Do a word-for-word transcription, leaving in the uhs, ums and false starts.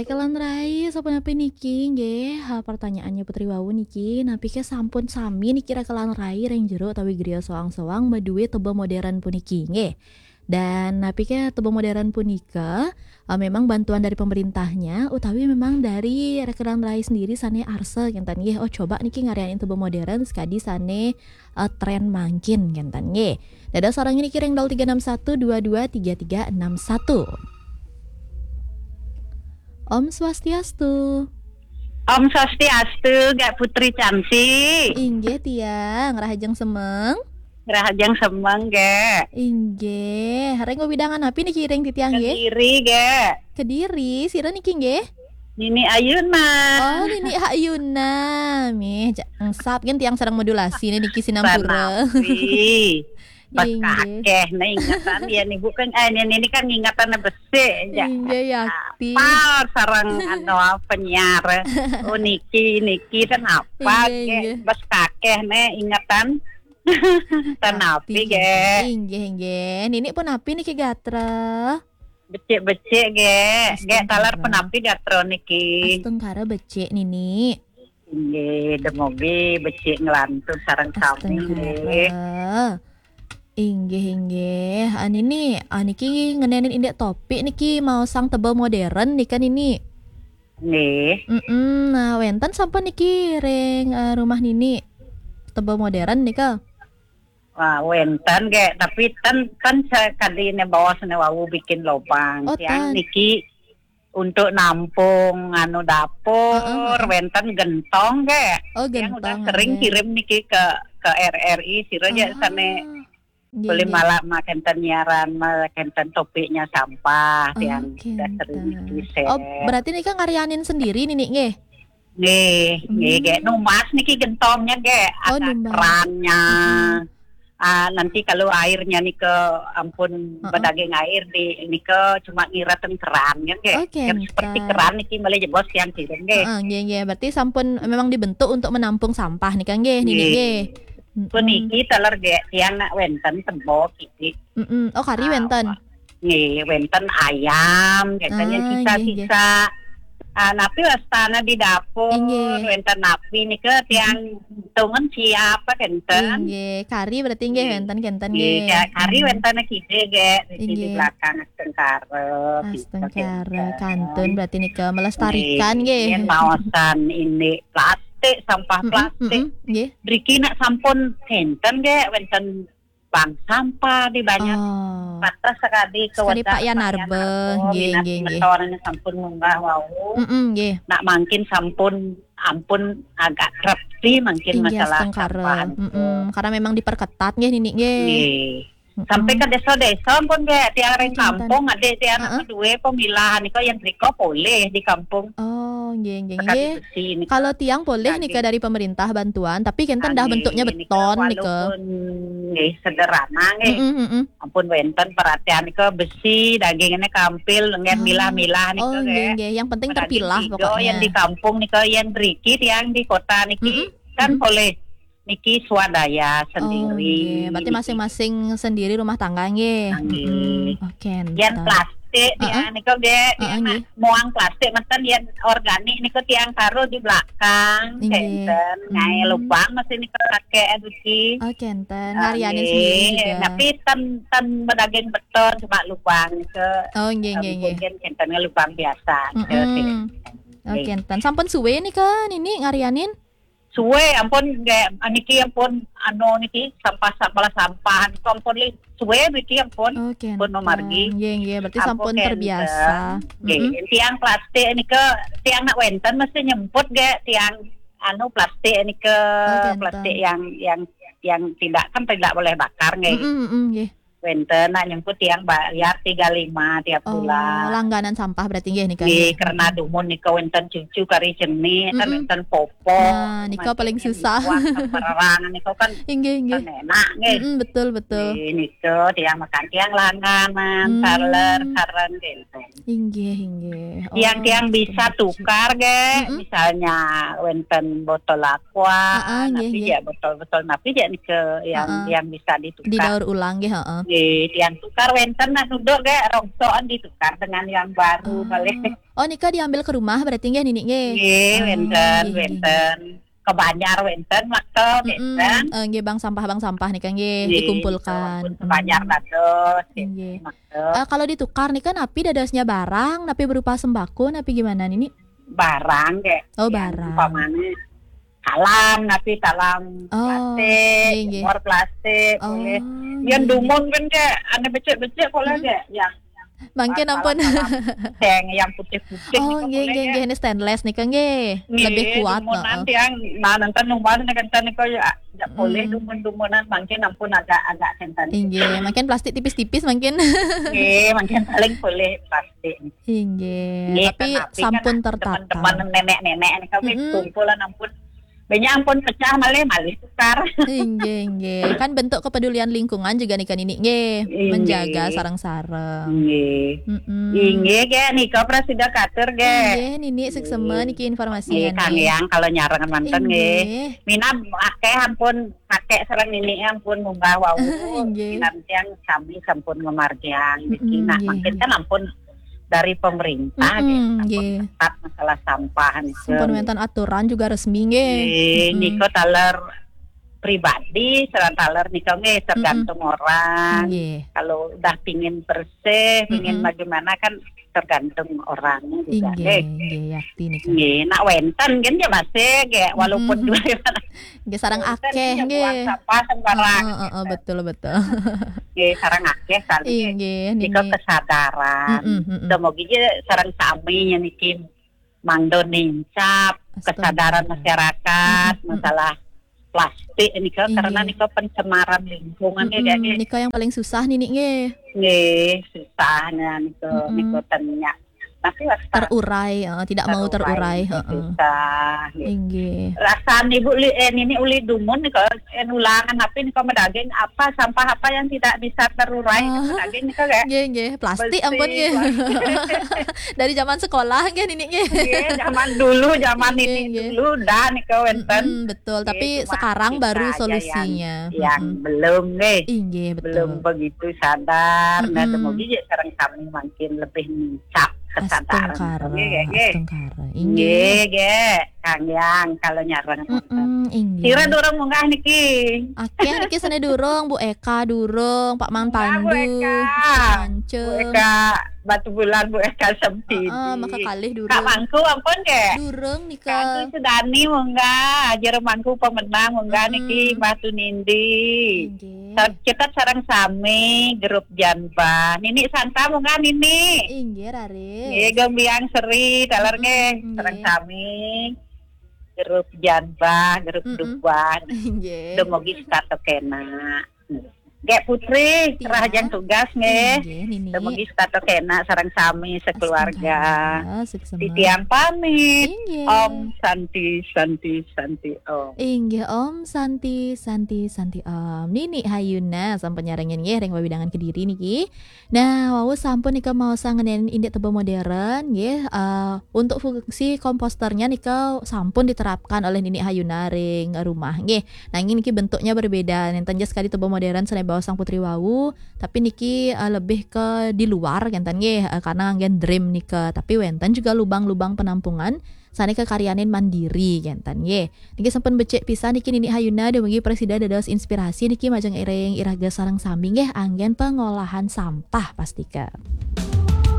Rekelan rai, sapunapi niki nggih? Ha, pertanyaannya Putri wau niki, napi ke sampun sami niki rekelan rai ring jero utawi griya soang-soang maduwe teba modern puniki nggih? Dan napi ke teba modern punika, eh, memang bantuan dari pemerintahnya utawi memang dari rekelan rai sendiri sane arsa kenten nggih? Oh, coba niki ngaryanin teba modern sekadi sane, eh, tren mangkin kenten nggih. Dados sareng niki ring nol tiga enam satu dua dua tiga tiga enam satu. Om Swastiastu. Om Swastiastu, Gek Putri Cansi. Inggih tiang, rahajeng semeng. Rahajeng semeng, Gek. Inggih, ring wewidangan napi niki ring titiang nggih? Kediri, Gek. Kediri, sira niki nggih? Nini Ayuna. Oh, Nini Ayuna. Mih, ja-, engsap kan tiang sareng modulasi niki sinampura. Sanapi. Bas Inggih. Kakeh, nah, ingatan ya nih, bukan, eh, ini, ini kan ingatannya besik, ya. Inggih, yakti. Apal sareng, anu, penyiar. Oh, niki, niki, kenapa, Inggih, Gek? Inggih. Bas kakeh, nih, ingatan. Tanapi, Yakti. Gek? Inggih, inggih. Nini punapi niki gatra? Becik-becik, Gek. Gek, taler Astungkara. Punapi gatra niki? Astungkara becik, Nini. Inggih, demogi becik nglantur sareng sami, nggih. Astungkara. Inggih, inggih. Ah, Nini, ah, niki ngenenin indik topik niki maosang teba modern nika, Nini. Nggih. Mm-mm. Nah, wenten sampun niki ring, eh, rumah Nini teba modern nika? Wah, wenten, Gek, tapi ten, ten sekadine baos ne wau bikin lobang. Oh, tiang ten. Niki untuk nampung anu dapur, heeh, heeh. Wenten gentong, Gek. Oh, tiang udah gentong, sering nggih. Kirim niki ke, ke R R I, sira aja. Ah, sane nggih, boleh nggih. Malah makan tenyaran, malah kenten topiknya sampah, oh, tiang udah sering kenten. Niki, oh, share. Berarti nika ngaryanin sendiri, Nini, nggih? Nggih, nggih, hmm. Gek. Numbas niki gentongnya, Gek. Oh, ada numbas. Kerannya. Mm-mm. Ah, nanti kalau airnya nih ke ampun, heeh, bedaging air di ini ke cuma ngiraten kerannya, Gek. Oh, kenten. Seperti keran niki malah jebos yang kirim, Gek. Heeh, nggih, nggih. Berarti sampun memang dibentuk untuk menampung sampah nika, nggih, Nini, nggih. Nggih. Mm-mm. Puniki taler, Gek, tiang nak wenten tebo kidik. Mm-mm. Oh, kari, ah, wenten. Nggih, wenten ayam, biasanya, ah, sisa-sisa. Nggih, nggih. Ah, napi wastana di dapur, inggih. Wenten napi nika tiang, mm-mm, hitungan siapa kenten. Inggih, kari berarti nggih, nggih. Wenten kenten nggih, nggih. Ka-, kari, hmm, wenten kide, Gek, di, di, inggih. Belakang astungkara, astungkara, kenten. Kantun berarti nika melestarikan nggih, nggih. Yen maosan ini plastik, sampah, mm-mm, plastik. Mm-mm, nggih. Driki nak sampun kenten, Gek, wenten bank sampah di banyak. Oh. Batas sekali ke sekali wadah Pak Yan Pak Yan Arba. Arba, nggih, minat nggih, nggih. Motornya sampun munggah wau. Mm-mm, nggih. Nak mangkin sampun ampun agak kerep sih mangkin, inggih, masalah astungkara. Sampah. Mm-mm. Karena memang diperketat nggih, Nini, nggih. Nggih. Mm-mm. Sampai ke desa-desa pun, Gek, tiang ring, oh, kenten. Kampung, adik tiang, heeh, kedua pemilahan itu yang riko boleh di kampung. Oh, nggih, nggih, sekali nggih. Besi ini. Kalau tiang boleh nika dari pemerintah bantuan, tapi kenten dah bentuknya beton nika. Walaupun nggih sederhana nggih. Mm-mm, mm-mm. Ampun wenten perhatian nika besi, dagingnya kampil, nggih, ah, milah-milah nika, oh, nggih, nggih. Yang penting terpilah pokoknya. Yang di kampung nika, yang driki, yang di kota niki, mm-mm, kan, mm-mm, boleh. Niki swadaya sendiri. Oh, nggih. Berarti niki masing-masing sendiri rumah tangga nggih. Nggih. Mm-mm. Oh, kenten. Yen plastik, heeh, ya, niku nggih, heeh, nggih. Muang plastik menten yen organik niku tiang taruh di belakang, nggih. Kenten. Ngai, hmm, lubang masih niku pakai aduki. Oh, kenten. Ah, ngaryanin nggih. Sendiri juga. Tapi ten, ten bedaging beton cuma lubang niku. Oh, nggih, nggih, nggih. Mungkin kenten lubang biasa. Mm-mm. Nggih. Oh, kenten. Sampun suwe nika Nini ngaryanin? Suwe, ampun, nggih, niki ampun, anu, niki sampah, sampah, sampah, niku ampun li-, suwe niki ampun. Oh, kenten. Pun mamargi. Nggih, nggih, berarti ampun sampun kenten. Terbiasa. Nggih, mm-mm. Tiang plastik nika, tiang nak wenten mesti nyemput nggih, tiang anu plastik nika, oh, kenten. Plastik yang, yang, yang tidak, kan tidak boleh bakar nggih. Mm-mm, mm-mm, nggih. Wenten, nak nyemput tiang bayar tiga lima tiap bulan. Oh, langganan sampah berarti nggih nika, nggih, nggih. Karena dumun nika wenten cucu kari jeni, kan, mm-mm, wenten popok. Nah, nika paling susah. Buat sembarang nika kan, inggih, inggih, kan enak nggih. Mm-mm, betul, betul. Nggih, nika tiang makan tiang langganan, hmm, taler, sareng gitu. Inggih, inggih. Tiang-tiang, oh, bisa betul, tukar nggih, mm-mm, misalnya wenten botol aqua, heeh, nggih, napi nggih. Ya, botol-botol napi ya nika yang, heeh, yang bisa ditukar. Didaur ulang nggih, heeh. Nggih, tiang tukar wénten nak nunduk nggih, rongsokan ditukar dengan yang baru, ah, boleh. Oh, nika diambil ke rumah berarti nggih, Nini, nggih? Nggih, ah, wénten, nggih, nggih, wénten. Ke banjar wénten, makta, mm-mm, wénten. Eh, nggih, bank sampah, bank sampah nika nggih, nggih, dikumpulkan. Ke banjar dados, nggih, makta. Eh, kalau ditukar nika napi dadosnya barang, napi berupa sembako, napi gimana, Nini? Barang, nggih. Oh, yang barang. Umpamanya talam, napi talam, oh, plastik, nggih, nggih, jemur plastik, oh, boleh. Yang nggih, nggih, dumun kan, nggih, ane becik-becik boleh, hmm, nggih. Yang mangkin ampun. Talam, talam seng, yang putih-putih, oh, nika nggih, boleh, nggih, nggih. Ini stainless nika nggih. Nggih, lebih kuat, dumunan heeh. Yang, nah, nenten numbal nika, nenten nika ya, ya boleh, hmm, dumun-dumunan, mangkin ampun agak-agak senten. Nggih, mangkin plastik tipis-tipis mangkin. Nggih, mangkin paling boleh plastik. Inggih, nggih, tapi kan napi kan sampun tertata. Teman-teman nenek-nenek nika wis, mm-mm, kumpulan ampun. Banyak ampun pecah malih, malih tukar. Inggih, inggih. Kan bentuk kepedulian lingkungan juga nika, Nini, nggih. Inggih. Menjaga sareng-sareng. Inggih. Mm-mm. Inggih, nggih, nika prasida katur, nggih. Inggih, Nini, suksema niki informasinya, nggih, Kang Yang, kalau nyareng manten, nggih. Inggih. Minab akeh ampun pakai sareng Nini ampun munggah wau. Inggih. Minab tiang sami sampun ngamargiang niki. Mm-mm, nah, nggih, mangkin nggih. Kan ampun dari pemerintah, mm-mm, nggih, sampun, nggih, ketat masalah sampah nika. Sampun wénten aturan juga resmi nggih. Nggih, mm-mm, nika taler pribadi, sareng taler nika nggih tergantung, mm-mm, orang. Nggih. Kalau udah pingin bersih, pingin, mm-mm, bagaimana kan tergantung orangnya juga, inggih, nggih. Inggih, yakti nika. Nggih, nak wénten kan ya masih nggih, walaupun, mm-mm, dua. Nggih, sareng wénten akeh, ya, nggih, buang sampah sembarangan. Heeh, heeh, gitu. Betul, betul. Nggih, sareng akeh kali. Inggih, nika niki kesadaran. Mm-mm, mm-mm. Semoga aja sareng sami ya niki mangdo nincap, astagfirullah, kesadaran masyarakat, mm-mm, mm-mm, masalah plastik nika, inggih, karena nika pencemaran lingkungan ya, mm-mm, nggih. Nika yang paling susah, Nini, nggih. Nggih, susahnya nika, mm-mm, nika tenyak. Tapi wasta terurai, eh, tidak mau terurai, terurai, heeh. Susah, nggih. Inggih. Rasan Ibu li, eh, Nini uli dumun nika, eh, ulangan apa nika medaging, apa sampah apa yang tidak bisa terurai, ah, nika medaging nika, nggih. Nggih, nggih. Plastik, besi, ampun, nggih. Plastik. Dari zaman sekolah, nggih, Nini, nggih. Nggih, zaman dulu, zaman, nggih, Nini, nggih, dulu dah nika wénten. Mm-mm, betul. Nggih, tapi cuma sekarang kita baru aja solusinya, yang, yang, mm-mm, belum, nggih. Inggih, betul. Belum begitu sadar. Nah, mm-mm, semoga ya sareng sami makin lebih nincap kesadaran. Astungkara, nggih, nggih, nggih. Astungkara. Inggih. Nggih, nggih. Kang Yang, kalau nyareng. Mm-mm, inggih. Sira durung munggah niki? Akeh niki sané durung, Bu Eka durung, Pak Man Pandu, Bu Eka. Mance. Bu Eka Batubulan, Bu Eka Sempidi. Heeh, maka kalih durung. Kak Mangku ampun nggih? Durung nika. Kak Sudani munggah, Ajar Mangku pemenang munggah, mm-mm, niki Mbah Tunindi. Inggih. Sa-, kita sareng sami grup Janbah. Nini Santa munggah, Nini. Inggih, raris. Nggih, Gembiang Seri, taler, mm-mm, nggih, nggih, sareng sami. Grup Janbah, grup, mm-mm, Duban. Inggih. Dumugi setata kena. Nggih Putri, tia, rahajeng tugas nggih. Inggih, Nini. Dumugi setata kena sareng sami sekeluarga. Astungkara, suksema. Titiang pamit. Inggih. Om Santi, Santi, Santi Om. Inggih, Om Santi, Santi, Santi Om. Nini Hayuna sampun nyarengin nggih ring wewidangan Kediri niki. Nah, wau sampun nika maos ngeninin indik teba modern nggih. Eh, untuk fungsi komposternya nika sampun diterapkan oleh Nini Hayuna ring rumah nggih. Nanging niki bentuknya berbeda. Nénten ja sekadi teba modern sané baos Sang Putri wau, tapi niki, eh, lebih ke di luar kénten nggih, eh, karena nganggén drim nika. Tapi wénten juga lubang-lubang penampungan sané kakaryanin mandiri kénten nggih. Niki sampun becik pisan niki Nini Hayuna, dumugi prasida dados inspirasi niki majeng ring iraga sareng sami nggih anggén pengolahan sampah pastika.